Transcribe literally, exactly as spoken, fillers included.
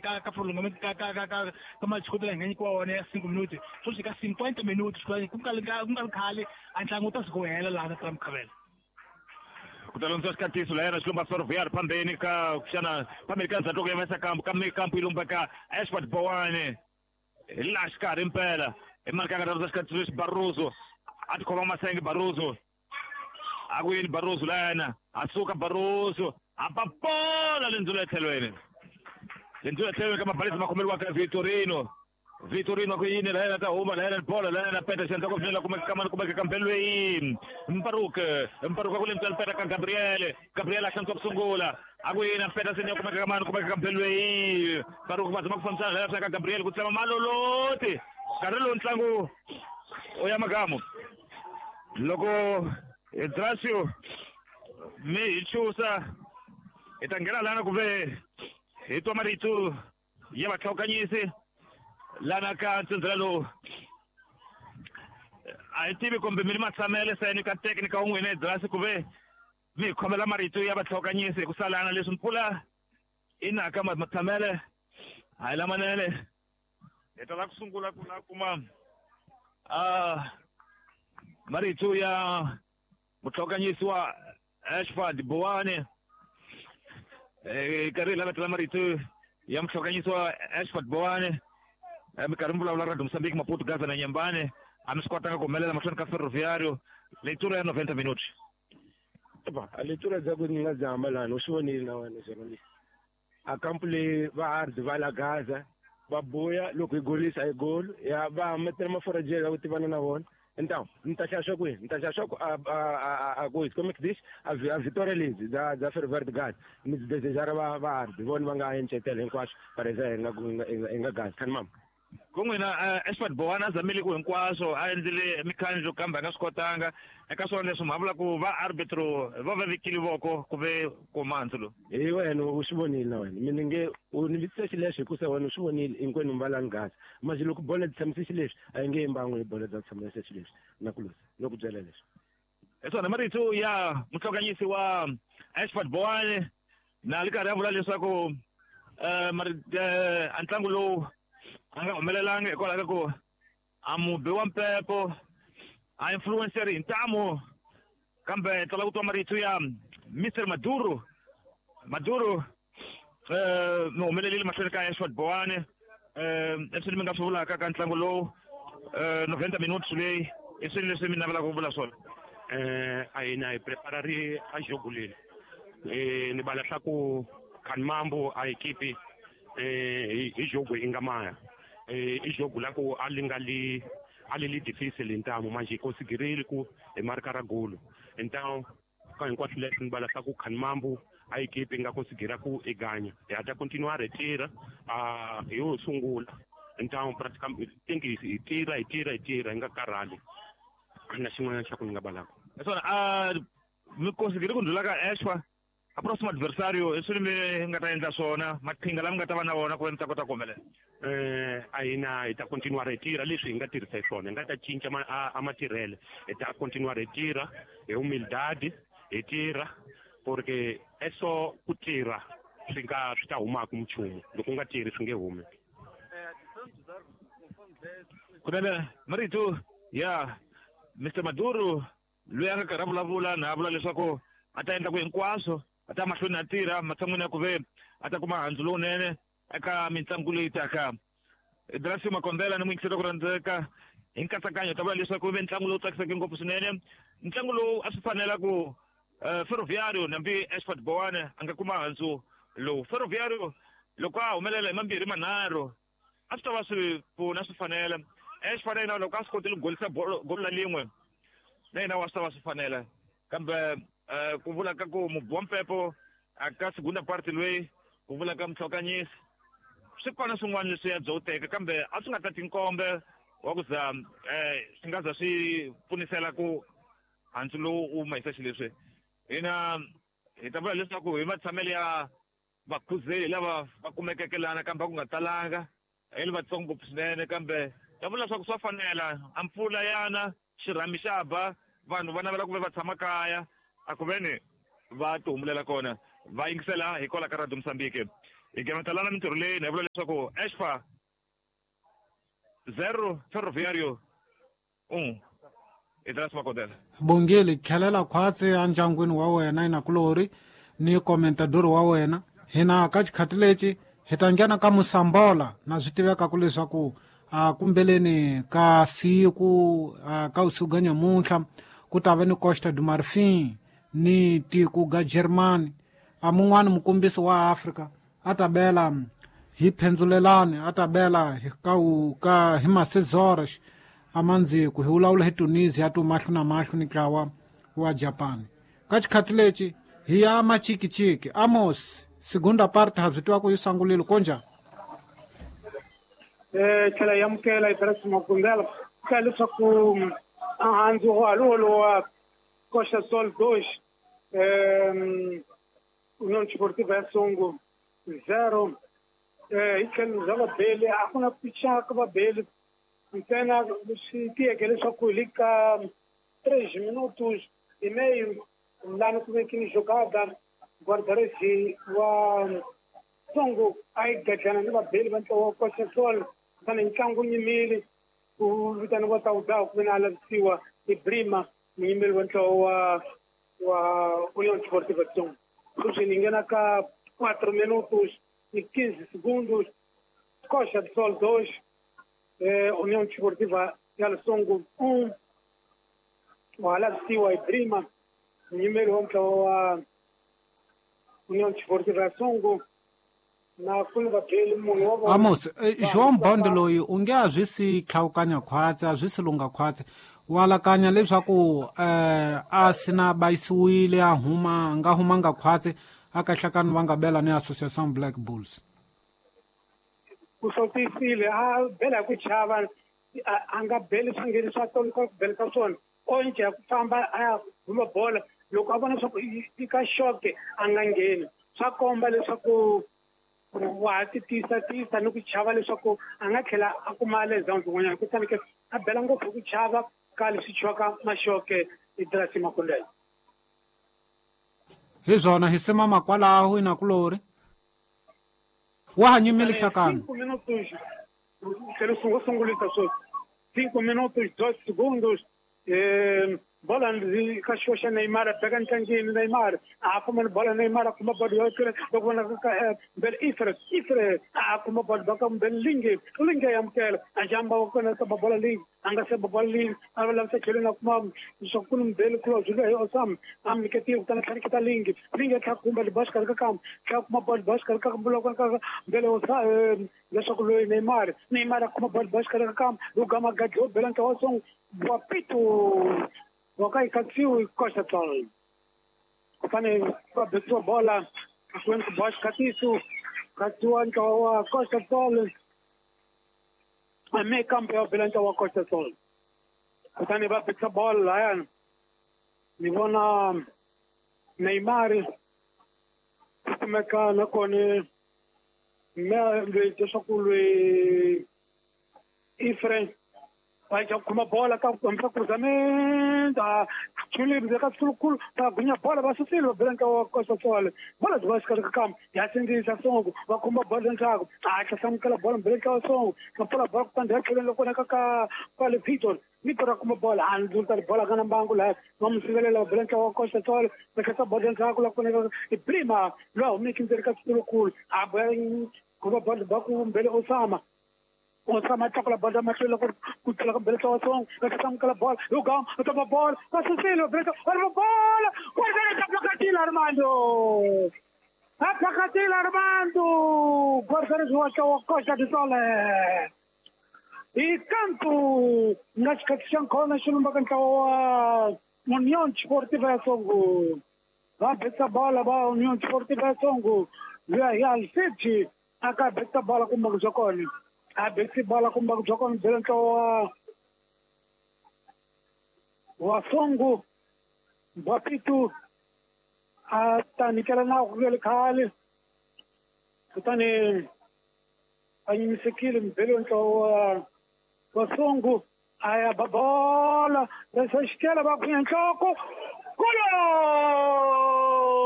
ka ka prolongament ka ka ka ka ka match la hi nga nyikiwa wona ya cinco minuti sweswi ka cinquenta minuti ku nga ku nga ri khale a ntlangu wu ta suka wu hela laha na Mukhavela. Ku ta londzisa xikatiso la yena xilumba Ferroviário phambeni ka xana phambeni ka ndzhaku ya mesa kampu ka kampu yi lumba ka Ashford Bowane hi laha xikarhi mpela hi mali ka nga ta londzisa xikatiso lexi Barroso a tikhoma masenge Barroso a ku yini Barroso la yena a suka Barroso a papola lendzulo etlhelweni lendzulo etlhelweni ka mabalisi ma khomeriwa ka Vitorino Vitorino ku yini la yena ta huma la yena bola la yena peta xandla ku finela kumeka kamani kumeka kambelweni Mparuk Mparuk ku lemtsala peta ka Gabriel Gabriel a xantswa ku sungula a ku yini peta senya kumeka kamani kumeka kambelweni Mparuk va zama ku fambisana la yena ka Gabriel ku tsema maloloti nkarhi lowu ntlangu u ya magamu loko Idrasio mi hi chusa hi ta nghena lana ku ve hi twa marito ya vatlhawukanyisi lana ka ntsindzela lowu a hi tivi kumbe mi ni matshamele seni ka teknika wun'wina Idrasio ku ve mi hi khomela marito ya vatlhawukanyisi hi ku salana leswi mpfula i naka matshamele a hi lamanene hi ta la ku sungula ku la kuma a marito ya mutlhawukanyisi wa Ashford Bowane karhi hi lavetela marito ya mutlhawukanyisi wa Ashford Bowane minkarhi mi vulavula Radio Mozambique Maputo Gaza na Nyambane a mi swi kotanga ku humelela mahlweni ka Ferroviário leitura ya noventa minutos. Ba leitura bya ku ni nga zama lani u swi vonile na wena journalist a kampu leyi va ardi va la Gaza va buya loko hi golisa hi golo ya va metela maforajela ku tivana na vona. Então, ni ta xaxa kwihi? Ni ta xaxa ku a a a ku como é que diz? A a vitória lezi da da Ferroviário de Gaza. Mi desejar va va ardi vona va nga encetela hinkwaswo parece hi nga hi nga Gaza khani mama. Ku n'wina Ashford Bowane a zamile ku hinkwaswo a endlile mikhandlu kambe a nga swi kotanga eka swona leswi mha vula ku va arbitro va va vekile voko ku ve kuma handzu lowu. Hi wena u swi vonile na wena mina nge u ni vitisa xileswo hikusa wena u swi vonile hinkwenu mi va lani Gaza manje loko bolo byi tshamise xileswi a yi nge yimbangi hi bolo bya tshamise xileswi na ku luza no ku byela leswi. Hi swona marito ya mutlhokanyisi wa Ashford Bowane na ri karhi a vula leswaku a ntlangu lowu a nga humelelanga hikwalaho ka ku a mubi wa mpepo a influencer hi ntamu kambe tala ku twa marito ya Mister Maduro Maduro eh mi humelelile mahlweni ka Ashford Bowane eh leswi mi nga swi vulaka ka ntlangu lowu eh noventa minutos leyi i swilo leswi mi navelaka ku vula swona. Eh a hina hi preparari a jogo leri eh ni bala swa ku Khanimambo a equipe eh hi jogo i nga maya eh i jogo la ku a li nga li a li li difícil ntamu manje hi conseguirile ku hi marka ra golo então ka hinkwaswo leswi ni bala swa ku Khanimambo a equipe i nga conseguira ku i ganya hi ha ta continuar hi tirha a hi yo sungula então praticamente think hi tirha hi tirha hi tirha hi nga karhali na xin'wana xa ku ni nga balaka. Hi swona a mi conseguire ku ndlula ka Ashford a próximo adversário i swilo mi nga ta endla swona maqhinga lama nga ta va na wona ku va mi ta kota ku humelela. Eh a hina hi ta continuar hi tirha leswi hi nga tirhisa hi swona hi nga ta cinca a matirhele hi ta continuar hi tirha hi humildade hi tirha porque eso ku tirha swi nga swi ta humaka nchumu loko u nga tirhi swi nge humi. Kunene marito ya Mister Maduro loyi a nga karhi a vulavula na a vula leswaku a ta endla ku hinkwaswo a ta mahlweni a tirha matshan'wini ya ku ve a ta kuma handzu lowunene eka mitlangu leyi taka. Idrasio Makombela ni muyingiseri ku rhandzeka hi nkatsakanyo ta vula leswaku ve ntlangu lowu tsakiseke ngopfu swinene ntlangu lowu a swi fanela ku Ferroviário nambi Ashford Bowane a nga kuma handzu lowu. Ferroviário loko a humelela hi mambirhi manharhu a swi ta va swi pfuna swi fanela Ashford yena loko a swi kotile ku golisa golo la lin'we na yena wa swi ta va swi fanela kambe ku vula ka ku mubi wa mpepo a ka segunda parte loyi ku vula ka mutlhokanyisi swi kona swin'wana leswi ya byo wu teka kambe a swi nga ta tinkombe wa ku za um swi nga za swi pfunisela ku handzu lowu u mahisa xileswi. Hina hi ta vula leswaku hi matshamelo ya vakhuzeli lava va kumekeke lana kambe a ku nga talanga hi li vatsongo ngopfu swinene kambe ta vula leswaku swa fanela a mpfula yana xirhami xa ba vanhu va navela ku ve va tshama kaya a ku veni va ti humulela kona va yingisela hikwalaho ka Radio Mozambique. Hi gemetelana mintirho leyi ni vula leswaku Expa zero Ferroviario un. Idras Makodela. Bongile tlhelela khwatsi endyangwini wa wena inakulori ni komentador wa wena. Hina ka xikhati lexi hi ta nghena ka Musambola na swi tiveka ku leswaku a kumbeleni ka siku ka usiku ga nyamuntlha ku ta va ni Costa do Marfin ni tiko ga Germany. A mun'wani mukombisi wa Afrika a ta bela hi phendzulelani a ta bela hi ka ka hi masezoras amandziku hi vulavula hi Tunisia tu mahlo na mahlo ni ntlawa wa Japan. Ka xikhati lexi hi ya machikichiki. Amos, segunda parte ha swi tiva ku yi sungulile konjhani? Eh tlhela yi amukela Idras Makundela ka leswaku ahandzu walowo Costa Sol dois eh União Desportiva ya Songo zero. Eh hi tlhelo bya vabeli a ku na pichaka vabeli ntsena swi tiyeke leswaku hi ka três minutos e meio lani ku vekini jogada guarda-redes wa Songo a yi gadlana ni vabeli va ntlawa wa Costa Sol kutani ntlangu nyimile ku vitaniwa Tawudawu ku ve na a lavisiwa hi Brima munyimeli wa ntlawa wa wa União Desportiva de Songo. Sweswi ni nghena ka quatro minutos e quinze segundos Costa do Sol dois eh, União Desportiva ya Songo um. Wa lavisiwa hi Brima munyimeli wa ntlawa wa União Desportiva ya Songo na ku ni vabeli munhu wa vona. Amos, João Bond loyi u nge a swi si tlhawukanya khwatsi a swi si lungha khwatsi wa alakanya leswaku eh a sina bayisiwile a huma nga humanga khwatsi a kahlakani va nga bela ni Association Black Bulls. Ku hlotisile a bela hi ku chava a nga beli swingeni swa tolo ka ku bela ka swona onje ya ku famba a ya huma bola loko a vona leswaku i ka xoke a nga ngheni swa komba leswaku wa ha ti tiyisa tiyisa ni ku chava leswaku a nga tlhela a kuma lesdowns kun'wanyana kutani ke a bela ngopfu hi ku chava ka leswi chwaka maxoke Idras Makundela. Hi swona hi simama kwalaho inakulori wa ha nyimile hlakani. Cinco minutos tlhela u sungulisa sweswi cinco minutos dois segundos eh bola ka xoxa Neymar beka ntlangeni Neymar a kuma bola Neymar a kuma bola yo tlula loko vona ka mbele Ifre Ifre a kuma bola baka mbele Linge Linge ya amukela a jamba wa kona ka bola Linge a nga se bola Linge a va lavisa tlhelo na kuma swa ku mbele close loyi Osam a mi nyiketile kutani tlhaniketa Linge Linge tlha kumba libaxa ka kam tlha kuma bola baxa ka mbula ka mbele Osa leswaku loyi Neymar Neymar a kuma bola baxa ka kam lugama gadlo bela ntlawa Songo wa pito Wakai katsiu Costa Sol. Kutani va betiwa bola kweni ku boxa katisu katsiwa ntlawa wa Costa Sol a me kampo ya bela ntlawa wa Costa Sol. Kutani va betisa bola lahayani ni vona Neymar kumeka nakona me loyi leswaku loyi Ifre va ja kuma bola ka ku cruzamento a chulile ka sulukulu va gunya bola va susile va bela ntlawa wa Costa Sol bola byi va xikarhi ka kambe ya sindzisa Songo va khumba bola ndzhaku a hlasamukela bola mbele ntlawa Songo va pfula bola kutani ya tlheleni loko vonaka ka kwale Victor Victor a kuma bola a ndzulta bola ka na mbangu laha va mu sivelela va bela ntlawa wa Costa Sol va tlhesa bola ndzhaku la ku vonaka i Brima loyi a humeke ndzeni ka sulukulu a boya khumba bola ba ku mbele Osama Osama tlakula bola mahlweni loko ku tlula ka mbele ntlawa Songo va hlasamukela bola yo gama va tapa bola va susile va bela va bola guarda Armando a phakatile Armando guarda wa ntlawa wa Costa do Sol i kantu nga xikhathi xa nkhona xi lumbaka ntlawa wa União Desportiva ya Songo va betisa bola va União Desportiva ya Songo luya hi Alfred a ka betisa bola kumbe ku bya kona a betisi bola kumbe ku bya kona bela ntlawa wa wa Songo Bapitu a ta nyikela nawu ku le khale kutani a yimisekile mubeli wa ntlawa wa wa Songo a ya ba bola resa xikela va khunya nhloko golo.